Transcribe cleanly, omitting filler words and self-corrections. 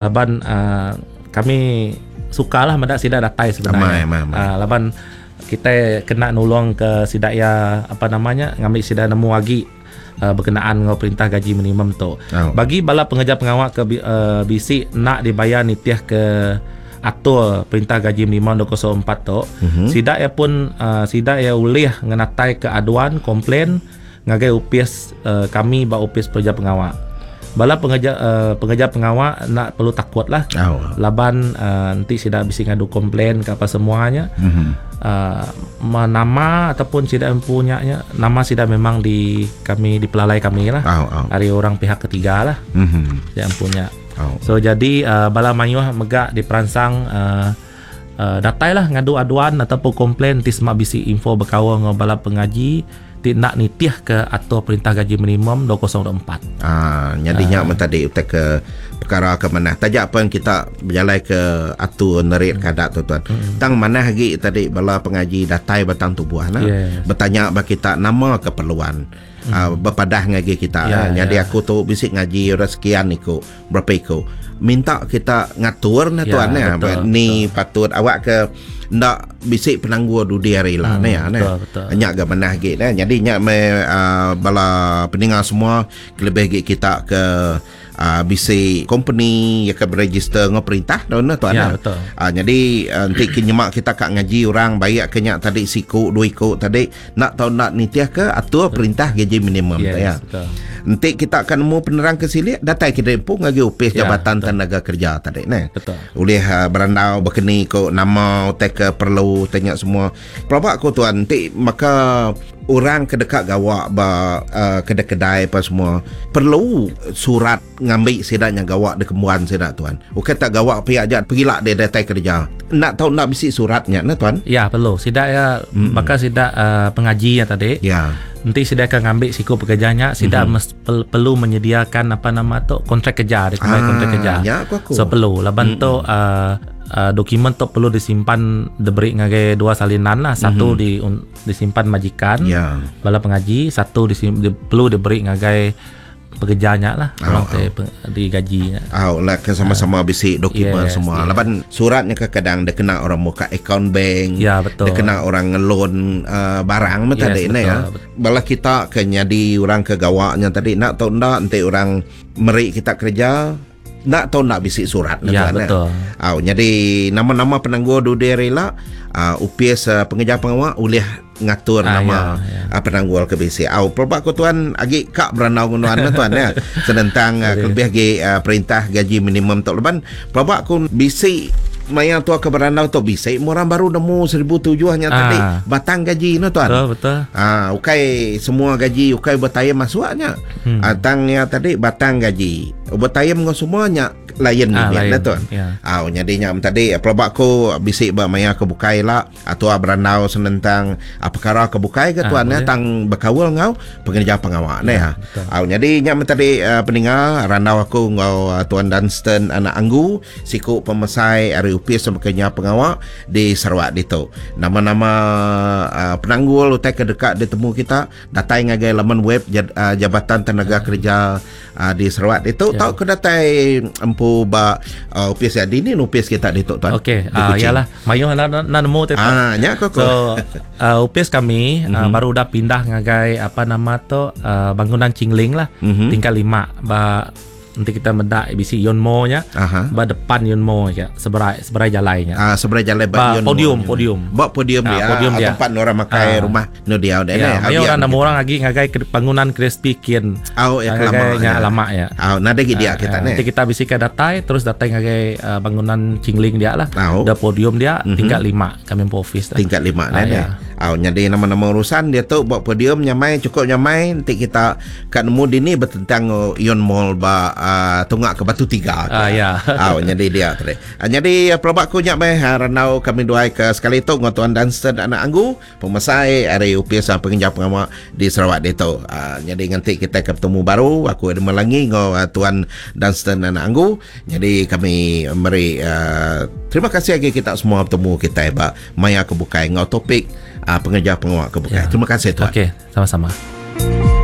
Laban uh, kami sukalah meda sida datai sebenarnya. Amai, amai, amai. Uh, laban kita kena nulung ke sida ya apa namanya ngambi sida nemu agi uh, berkenaan enggau perintah gaji minimum tu. Oh. Bagi bala pengeja pengawa ke uh, bisi nak dibayar nitih ke atur perintah gaji minimum 2004 tu, mm-hmm. sida ya pun uh, sida ya ulih ngenatai ke aduan komplain ngagai opis uh, kami ba opis pengereja pengawa. Bala pengereja uh, pengereja pengawa enda perlu takut lah. Oh. Laban uh, enti sida bisi ngadu komplain ke apa semuanya mm-hmm. uh, nama ataupun sida empu nya nya nama sida memang di kami dipelalai kami lah. Oh, oh. Ari orang pihak ketiga lah. Mm-hmm. Sida empu nya. Oh. So jadi uh, bala mayuh mega diperansang uh, uh, datailah ngadu aduan ataupun komplain ti sema bisi info bekaul enggau bala pengaji ti enda nitih ke atur perintah gaji minimum 2024. Ah, nyadi nya men tadi utai ke perkara ke manah. Taja pen kita bejalai ke atur nerit ke adat tu tuan. Tang manah agi tadi bala pengaji datai batang tubuh nah. Yes. Betanya ba kita nama keperluan. Ah, bepadah ngagai kita. Ya, Nyadi ya. aku tu bisi ngaji orang sekian iku, berapa iku. Minta kita ngatur nah Ya, tuan nah. betul, Ni patut awak ke ndak bisi penanggul dudi hari lah Hmm, nah ya, nah. betul, betul. Nya ga manah agi nah. Jadi nya me uh, bala peninga semua kelebih agi kita ke uh, bisi company ya ke beregister ngau perintah dah nah tuan. Ya, nah. betul. Uh, jadi uh, enti ke nyemak kita kak ngaji orang baik ke nya tadi siku dua iku tadi nak tau nak nitih ke atur perintah gaji minimum Yes, ya. betul. Enti kita akan nemu penerang ke silik datai kita empu ngagi upis Ya, Jabatan betul. Tenaga Kerja tadi nah. Betul. Ulih uh, berandau berkeni ko nama utai ke perlu tanya semua. Pelabak ko tuan enti maka orang ke dekat gawak ba uh, kedai-kedai apa semua perlu surat ngambil sidaknya gawak di kembuan sidak tuan. Bukan tak gawak pihak aja pergilah dia datai kerja. Nak tahu nak bisi suratnya nah tuan. Ya perlu. Sida ya maka sida uh, pengaji ya tadi. Ya. Nanti sida akan ngambil siku pekerjanya, sida mm-hmm. perlu menyediakan apa nama tu kontrak kerja, dia ah, kontrak kerja. Ya aku aku. So perlu laban mm-hmm. tu uh, uh, dokumen tu perlu disimpan diberi ngagai dua salinan lah. Satu mm-hmm. di un, disimpan majikan Ya. bala pengaji, satu disim, di, perlu diberi ngagai pekerjanya lah, Oh, orang te digajinya. Aw lah ke sama-sama bisi dokumen Yes, semua. yes. Laban suratnya kadang dia kena orang muka account bank. Ya, betul. Dia kena orang ngeloan uh, barang mah Yes, tadi ne ya. betul, betul. Bala kita ke nyadi orang ke gawaknya tadi nak tahu ndak enti orang meri kita kerja nak tahu nak bisi surat Ya, tuan, eh. betul. Aw jadi nama-nama penangguh dudia rela uh, UPS uh, pengejar pengawak ulih ngatur Ah, nama ya, ya. uh, penanggul ke bisi. Aw pelbak ko tuan agi kak berandau ngono anu tuan ya. Senentang uh, kelebih agi uh, perintah gaji minimum tok leban pelbak ko bisi maya tua ke berandau tu bisi orang baru nemu 1007 nya Ah. tadi batang gaji no tuan. Betul, betul. Ah, ukai semua gaji ukai bertayam masuknya. Hmm. Ah, tangnya tadi batang gaji. Bertayam dengan semuanya lain Ah, ni lain. lah tuan. Ya. Ah, nyadinya tadi pelabak ko bisik ba maya ke bukai lah atau berandau senentang ah, perkara ke bukai ke Ah, tuan ya boleh. tang berkawal ngau pengerja pengawak ne ya. betul. Ah, jadi nya tadi uh, peninga randau aku ngau uh, tuan Dunstan anak Anggu siku pemesai ari upis sama kenya pengawak di Sarawak ditu. Nama-nama uh, penanggul utai ke dekat ditemu kita datai ngagai laman web uh, Jabatan Tenaga Kerja uh, di Sarawak ditu Ya. tau ke datai empu ba uh, upis ya dini upis kita ditu tuan. Okey, Di ah Kuching. yalah, mayuh na na nemu tu. Ah, nya aku aku. So uh, upis kami mm-hmm. uh, baru udah pindah ngagai apa nama tu uh, bangunan Cingling lah, Mhm. tingkat 5 ba nanti kita mendak ABC Yonmo nya. Aha. Ba depan Yonmo ya, seberai seberai jalainya. Ah, seberai jalan Ba ba Yonmo. podium, podium. Ba podium Ah, dia. podium Ah, dia. Tempat orang makai Ah. rumah no dia dia. Ya, mayo orang nemu orang lagi ngagai ke bangunan Crispy Kin. Au ya kelama. Ngagai nya lama ya. Au nada gi dia kita Ah, ne. Nanti kita bisa ke datai terus datai ngagai uh, bangunan Cingling dia lah. Au. Ada podium dia tingkat 5 kami po office lah. Tingkat lima Ah, ne. ya. Au jadi nama-nama urusan dia tu buat podium nyamai cukup nyamai nanti kita kat nemu dini bertentang oh, Ion Mall ba uh, tunggak ke Batu Tiga. Ah, ya. Au jadi dia tadi. Ah, jadi pelabak ku nyak meh ah, ranau kami duai ke sekali tu ngau tuan Dunstan anak Anggu pemesai ari UPS ah, penginjau pengawak di Sarawak ditu. Ah, jadi nanti kita ke bertemu baru aku ada melangi ngau ah, tuan Dunstan anak Anggu. Jadi kami meri uh, terima kasih lagi kita semua bertemu kita ba maya ke bukai ngau topik uh, pengejar pengawak ke bukai. Ya. Terima kasih tuan. Okey, sama-sama.